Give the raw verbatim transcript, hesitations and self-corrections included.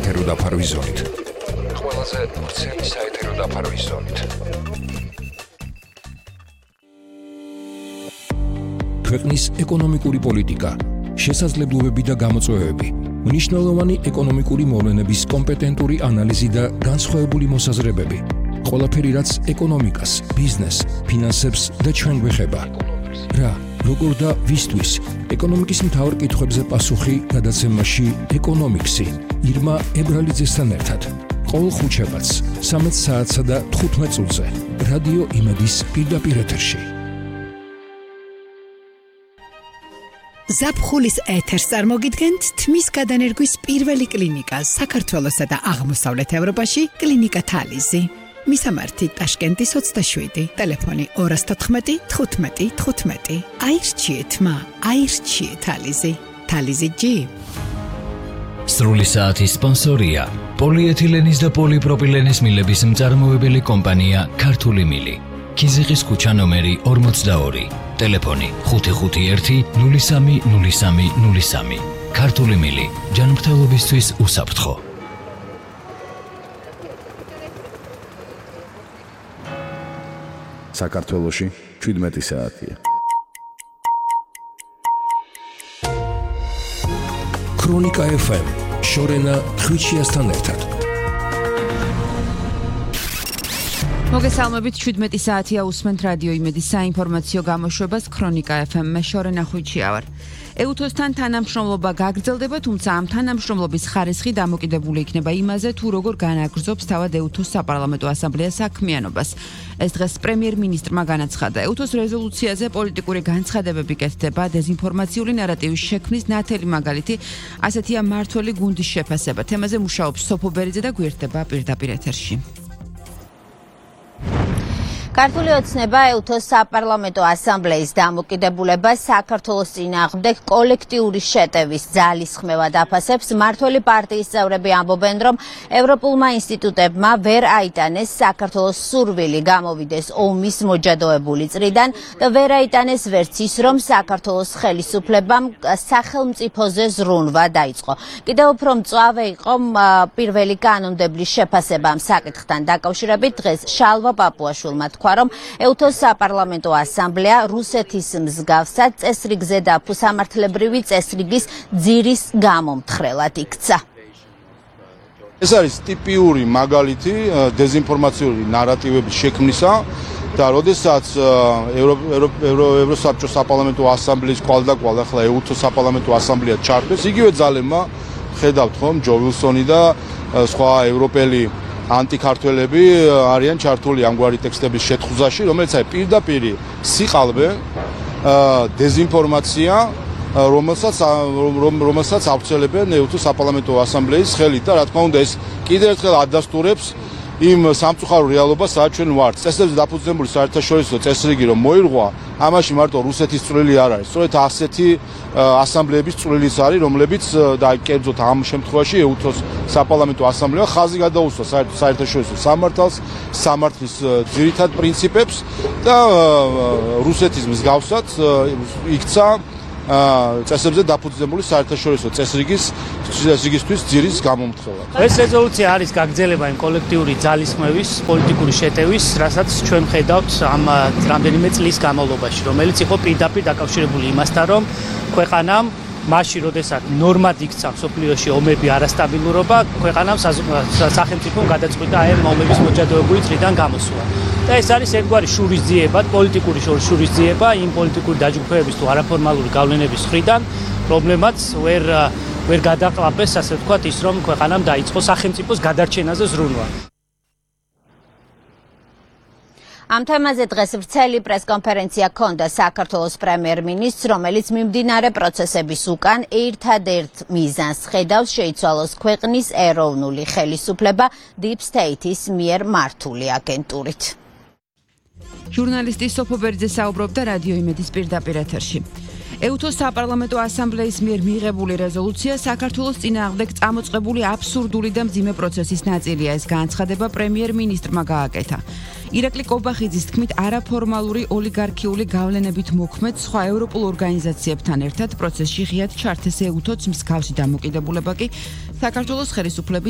საეთერო დაფარვის ზონით. ყველაზე ვრცელი საეთერო დაფარვის ზონით. ქვეყნის ეკონომიკური პოლიტიკა, შესაძლებლობები და გამოწვევები, მნიშვნელოვანი ეკონომიკური მოვლენების კომპეტენტური ანალიზი და განსხვავებული მოსაზრებები. ყველაფერი, რაც ეკონომიკას, ბიზნესს, ფინანსებს და ჩვენ გვეხება. რა, როგორ და ვისთვის, ეკონომიკის მთავარ კითხვებზე პასუხი გადაცემაში ეკონომიქსი, ირმა ებრალიძესთან ერთად. ყოველ ხუთშაბათს, სამეც საათსა და თხუთმეტ წუთზე, რადიო იმედის პირდაპირ ეთერში. ზაფხულის ეთერს წარმოგიდგენთ თმის გადანერგვის პირველი კლინიკა საქართველოსა და აღმოსავლეთ ევროპაში კლინიკა თალიზი. მისამართი ტაშკენტის ოცდაშვიდი, ტელეფონი ორას თოთხმეტი, თხუთმეტი, თხუთმეტი. აირჩიეთ მა, აირჩიეთ თალიზი. თალიზი ჯი. სრული საათის სპონსორია პოლიეთილენის და პოლიპროპილენის მილების მწარმოებელი კომპანია ქართული მილი. ქიზიყის ქუჩა ნომერი ორმოცდაორი. ტელეფონი ხუთი ხუთი ერთი, ნული სამი, ნული სამი, ნული სამი. ქართული მილი, ჯანმრთელობისთვის უსაფრთხო. საქართველოში შვიდმეტი საათია. ქრონიკა ეფ ემ, შორენა ხვიჩიასთან ერთად. მოგესალმებით, შვიდმეტი საათია უსმენთ რადიო იმედის საინფორმაციო გამოშვებას ქრონიკა ეფ ემ-მე შორენა ხვიჩია ვარ. ეუთოს-თან თანამშრომლობა გაგრძელდება, თუმცა ამ თანამშრომლობის ხარისხი დამოკიდებული იქნება იმაზე, თუ როგორ განაგრძობს თავად ეუთოს საპარლამენტო ასამბლეა საქმიანობას. ეს დღეს პრემიერ-მინისტრმა განაცხადა. ეუთოს რეზოლუციაზე პოლიტიკური განცხადებები კეთდება, დეზინფორმაციული ნარატივის შექმნის ნათელი მაგალითი, ასეთია მართველი გუნდის შეფასება. თემაზე მუშაობს სოფო ბერიძე და გვერდება პირდაპირ ეთერში. ქართული ოცნება ეუთოს საპარლამენტო ასამბლეის დამოკიდებულება საქართველოს წინააღმდეგ კოლექტიური შეტევის ძალისხმევად აფასებს. მმართველი პარტიის წევრები ამბობენ, რომ ევროპულმა ინსტიტუტებმა ვერ აიტანეს საქართველოს სურვილი გამოვიდეს ომის მოჯადოებული წრიდან და ვერ აიტანეს ვერც ის, რომ საქართველოს ხელისუფლებამ სახელმწიფოზე ზრუნვა დაიწყო. კიდევ უფრო მწვავე იყო პირველი კანონმდებლის შეფასება ამ საკითხთან დაკავშირებით. დღეს შალვა პაპუაშვილმა რომ ეუთოს საპარლამენტო ასამბლეა რუსეთის მსგავსად წესრიგზე და სამართლებრივი წესრიგის ძირის გამომთხრელად იქცა. ეს არის ტიპიური მაგალითი დეზინფორმაციული ნარატივების შექმნისა და როდესაც ევროსაბჭოს საპარლამენტო ასამბლეის კვალდაკვალ ახლა ეუთოს საპარლამენტო ასამბლეა ჩართვეს, იგივე ძალებმა ხედავთ ხომ ჯო ვილსონი და სხვა ევროპელი ანტიქართველები არიან ჩართული ამგვარი ტექსტების შეთხუზაში, რომელიც აი პირდაპირ სიყალბე დეზინფორმაცია, რომელსაც რომელსაც ავრცელებენ ეუთოს საპარლამენტო ასამბლეის ხელით და რა თქმა უნდა ეს კიდევ ერთხელ ადასტურებს იმ სამწუხარო რეალობას, სადაც ჩვენ ვართ. წესებზე დაფუძნებული საერთაშორისო წესრიგი რომ მოირღვა, ამაში მარტო რუსეთის წვლილი არ არის. სწორედ ასეთი ასამბლეების წვლილიც არის, რომლებიც და კერძოდ ამ შემთხვევაში ეუთოს საპარლამენტო ასამბლეა ხაზი გადაუსვა საერთაშორისო სამართალს, სამართლის ძირითად პრინციპებს და რუსეთის მსგავსად იქცა წესებზე დაფუძნებული საერთაშორისო წესრიგის წესრიგისთვის ძირის გამომთხრელად. ეს რეზოლუცია არის გაგრძელება იმ კოლექტიური ძალისხმევის, პოლიტიკური შეტევის, რასაც ჩვენ ხედავთ ამ რამდენიმე წლის განმავლობაში, რომელიც იყო პირდაპირ დაკავშირებული იმასთან, რომ ქვეყანამ მაშინ, როდესაც ნორმად იქცა მსოფლიოში ომები, არასტაბილურობა, ქვეყანამ სახელმწიფომ გადაწყვიტა აი ამ ომების მოჯადოებული წრიდან გამოსვლა. და ეს არის ერთგვარი შურისძიება, პოლიტიკური შურისძიება იმ პოლიტიკური დაჯგუფებების თუ არაფორმალური გავლენების მხრიდან, რომლებმაც ვერ ვერ გადაყლაპეს, ასე ვთქვათ, ის რომ ქვეყანამ დაიწყო სახელმწიფოს გადარჩენაზე ზრუნვა. ამ თემაზე დღეს ვრცელი პრესკონფერენცია ჰქონდა საქართველოს პრემიერ-მინისტრს, რომელიც მიმდინარე პროცესების უკან ერთადერთ მიზანს ხედავს შეიცვალოს ქვეყნის ეროვნული ხელისუფლება Deep State-ის მიერ მართული აგენტურით. ჟურნალისტი სოფო ბერიძე საუბრობდა რადიო იმედის პირდაპირ ეთერში. ეუთოს საპარლამენტო ასამბლეის მიერ მიღებული რეზოლუცია საქართველოს წინააღმდეგ წამოწყებული აბსურდული და მძიმე პროცესის ნაწილია. ეს განცხადება პრემიერ-მინისტრმა გააკეთა. ირაკლი კობახიძის თქმით, არაფორმალური ოლიგარქიული გავლენებით მოქმედ სხვა ევროპულ ორგანიზაციებთან ერთად პროცესში ღიად ჩართეს ეუთოს მსგავსი დამოკიდებულება კი საქართველოს ხელისუფლების